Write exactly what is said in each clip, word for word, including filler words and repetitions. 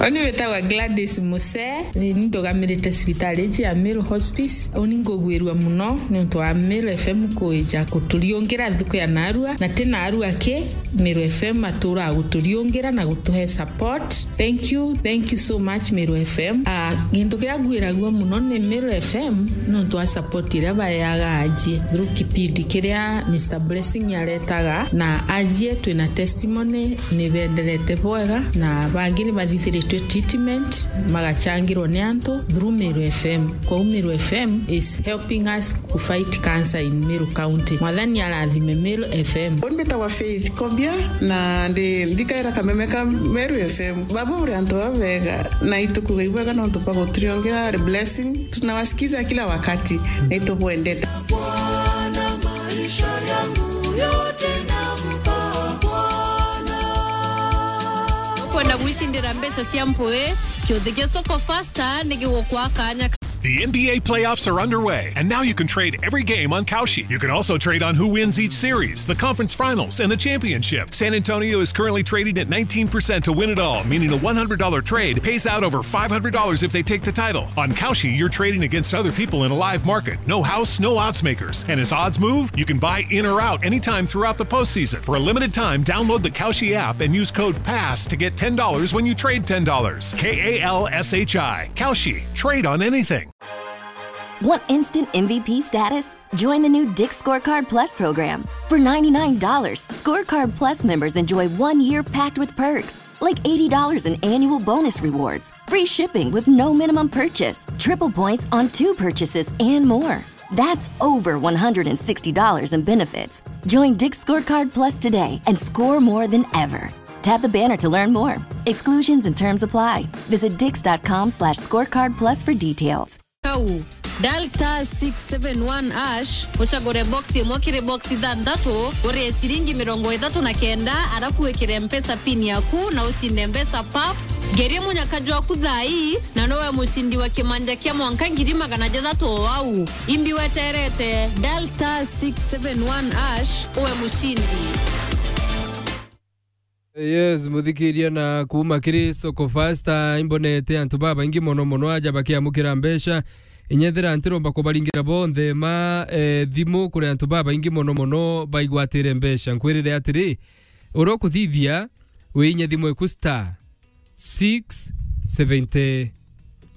Oni witagwa Gladys Muse, ni ndugamirite cibitari iji ya Meru Hospice. Uni ngugwirua muno niuntu wa Meru F M kuija kuturiungira nthuku ya narua, na ti narua ki, Meru F M atura guturiungira na gutuhe support. Thank you, thank you so much, Meru F M. Ah, gintu kiria ngwiragua muno ni Meru F M niuntu wa support iria baeaga ajie through kipindi kiria Mister Blessing aretaga, na ajie twina testimony ni benderete bwega, na bangi ni bathithiritwe treatment, magachangirwa ni antu through Meru F M. Kwou Meru F M is helping us to fight cancer in Meru County. Mwathani arathime Meru F M. Uni mbitagwa Faith Kobia, na ndi nthikaira kameme ka Meru F M. Baba uri antu baba bega, na itukuga ibwega nontu bwa guturiongera blessing. Tunawasikiza kila wakati, na itubwendete. Bwana, maisha yangu yote nampa Bwana. Kwenda gwicindira mbeca cia mpui, kiuthi gia Soko Fasta ni gigukwa kanya. The N B A playoffs are underway, and now you can trade every game on Kalshi. You can also trade on who wins each series, the conference finals, and the championship. San Antonio is currently trading at nineteen percent to win it all, meaning a one hundred dollar trade pays out over five hundred dollars if they take the title. On Kalshi, you're trading against other people in a live market. No house, no odds makers. And as odds move, you can buy in or out anytime throughout the postseason. For a limited time, download the Kalshi app and use code pass to get ten dollars when you trade ten dollars. K A L S H I. Kalshi. Trade on anything. Want instant M V P status? Join the new Dick's Scorecard Plus program. For ninety-nine dollars, Scorecard Plus members enjoy one year packed with perks, like eighty dollars in annual bonus rewards, free shipping with no minimum purchase, triple points on two purchases, and more. That's over one hundred and sixty dollars in benefits. Join Dick's Scorecard Plus today and score more than ever. Tap the banner to learn more. Exclusions and terms apply. Visit dix dot com slash scorecard plus for details. Kau, dial star six seven one hash, ucagure box imwe kiri box ithanthatu, urie ciringi mirongo ithatu na kenda, arafu wikire Mpesa pin yaku na ucinde mbeca pap. Ngerie munyaka jwaku thaa ii, na nowe mucindi wa kimanja kia mwanka ngiri magana jathatu o au. Imbi weterete, dial star six seven one hash, uwe mucindi. Yes, muthikiria na kuuma kiri Soko Fasta, imbonete antu babaingi mono mono aja bakiamukira mbeca. Inyethira ntiromba kubaringira bonthe ma, eh, thimu kuri antu babaingi mono mono baigwatire mbeca. Nkwirire atiri, uria ukuthithia, wiinye thimu eku star six seventy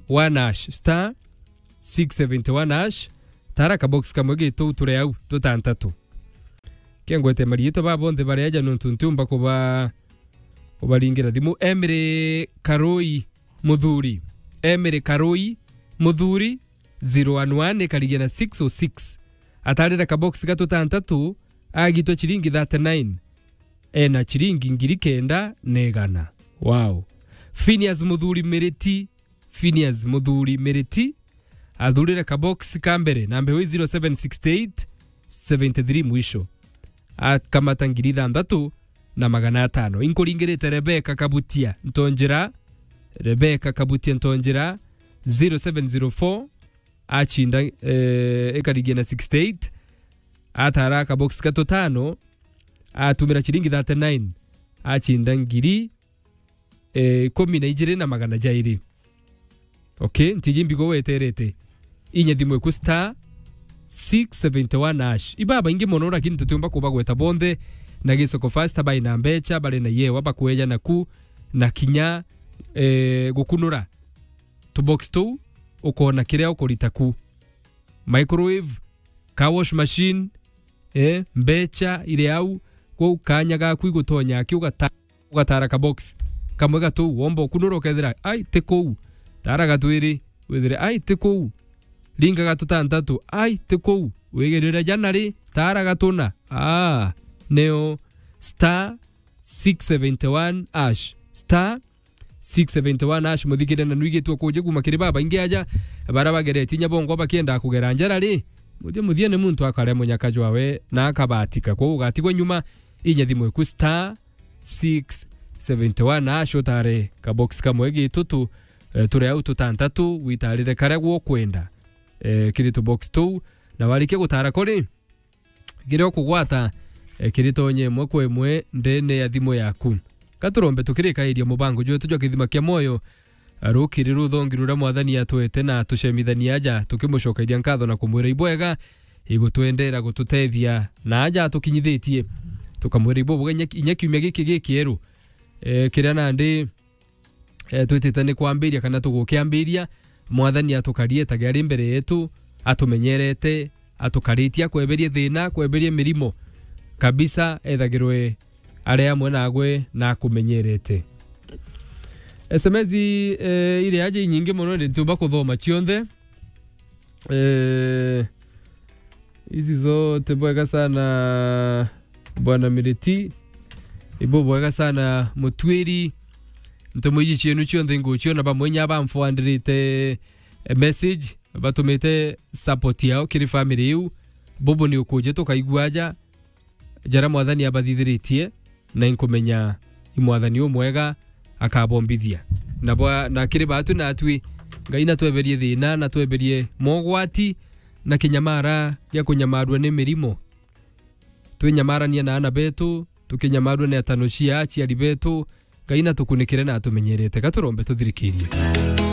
one hash, star six seventy one hash, tara kabox kamwe gitu ture au tutantatu. Kengwete mariitwa ba bonthe baria aja nontu ntiumba kuba-, kubaringira thimu. Emily Karui Muthuri. Emily Karui Muthuri, zero one one, ikarigia na six oh six. Atarire kabox ga tutantatu, agitwa chiringi thirty-nine. Ena chiringi ngiri kenda na igana. Wow. Phineas Muthuri Miriti, Phineas Muthuri Miriti, athurire kabox ka mbere, namba iwe zero seven six eight, seventy three mwisho. Akamata ngiri ithanthatu na magana atano. Inkuringirite Rebecca Kabutia Ntonjera. Rebecca Kabutia Ntonjera, zero seven zero four, achinda, eh, ikarigia na sixty eight. Atara kabox ka tutano, atumira chiringi thirty-nine, achinda ngiri, eh, ikumi na ijiri na magana jairi. Okay, ntiji mbigo weterete. Inya thimu iku star six seventy one hash. Iba baingi mono, lakini tutiumba kubagweta bonthe, na Gisoko Fasta bai na mbecha, bari na yewa bakweja naku, na kinya, eh, gukunura tubox tuu, ukona kiria ukurita ku. Microwave, car wash machine, eh, mbecha iri au, kwou kanya gaku igutonya aki ugata-, ugatara kabox kamwe gatuu, womba ukunura ukethira, ai, ti kuu, tara gatwiri, withire, ai, ti kuu, ringa gatutantatu, ai, ti kuu, wigirire jana ri, tara gatuna, aa, nio star six seventy one hash, star six seventy one hash, muthikire na nwigitwe kuja kuma kiri babaingi aja, bara bageretie inya bongwa bakienda kugera njara ri, muthia muthia ni muntu akaria munyaka jwawe na akabatika, kwou ugatigwa nyuma. Inya thimu iku star six seventy one hash, utare kabox kamwe gitutu, eh, turi au tutantatu, witarire karia gukwenda, eh, kiri tubox tuu, na warikia gutara kuri, kiria ukugwata, eh, kiri tonye imwe kwa imwe ndene ya thimu yaku. Gaturombe tukirikairia mubango jwetu jwa kithima kia mwoyo, rukiri ruthongi ruria Mwathani atwete na tucemithania aja, tukimucokeria nkatho na kumwira ibwega igutwendera gututethia na aja atukinyithitie. Tukamwira ibwega inya, inya kiumia giki gikieru, eh, kiria nandi eh, twitite ni kwambiria kana tugukiambiria, Mwathani atukarie tage ari mbere yetu, atumenyerete, atukaritie, akweberie thina, akweberie mirimo kabisa, ethagirwe ari amwe nagwe na akumenyerete. S M S, eh, iri aja inyingi mono, ndi ntiumba kuthoma cionthe. Eh, ici zote bwega sana, Bwana Miriti. Ibo bwega sana, Mutwiri. Ntumo iji cienu cionthe nguciona bamwe nya bamfuandirite, eh, message, batumite support yao kiri family iu. Bubu ni ukuje tukaigua aja jaria Mwathani abathithiritie, na inkumenya i Mwathani umwega akabombithia. Na bwa, na kiri baatu natwi, Ngai natweberie thina, natweberie mogwati, na kinyamara gia kunyamarua ni mirimo. Twinyamarania na ana betu, tukinyamarua ni atano cia aciari betu, Ngai natukunikire na atumenyerete. Gaturombe tuthirikirie.